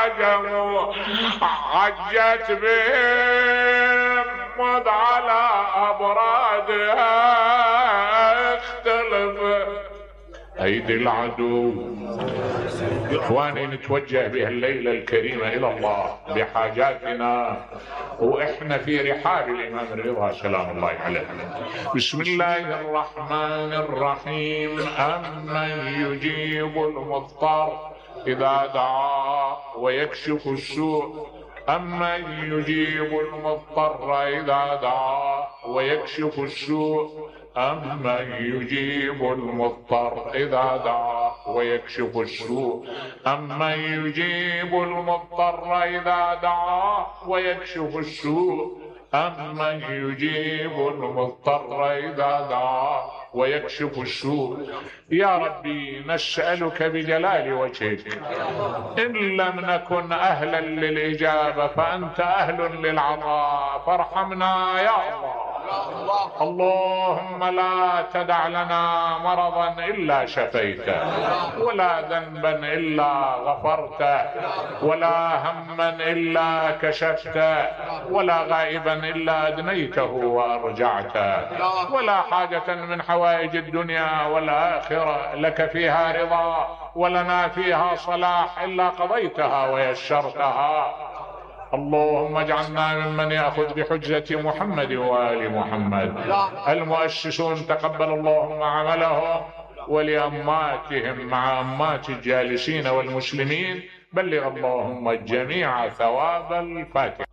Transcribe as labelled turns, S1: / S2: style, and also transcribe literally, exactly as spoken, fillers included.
S1: عجموا عجت بهم مد على أبرادها اختلف أيدي العدو. إخواني نتوجه بهالليلة الكريمة إلى الله بحاجاتنا وإحنا في رحاب الإمام الرضا سلام الله عليه. بسم الله الرحمن الرحيم. أمن يجيب المضطر إذا دعا ويكشف السوء أمن يجيب المضطر إذا دعا ويكشف السوء أمن يجيب المضطر إذا دعا ويكشف السوء أمن يجيب المضطر إذا دعا ويكشف السوء أمن يجيب المضطر إذا دعا ويكشف السوء. يا ربي نسألك بجلال وجهك إن لم نكن أهلا للإجابة فأنت أهل للعطاء فارحمنا يا الله. اللهم لا تدع لنا مرضا إلا شفيته ولا ذنبا إلا غفرته ولا هما إلا كشفته ولا غائبا إلا أدنيته وأرجعته ولا حاجة من حوائج الدنيا والآخرة لك فيها رضا ولنا فيها صلاح إلا قضيتها ويسرتها. اللهم اجعلنا ممن يأخذ بحجة محمد وآل محمد. المؤسسون تقبل اللهم عملهم ولأماتهم مع أمات الجالسين والمسلمين. بلغ اللهم الجميع ثواب الفاتحة.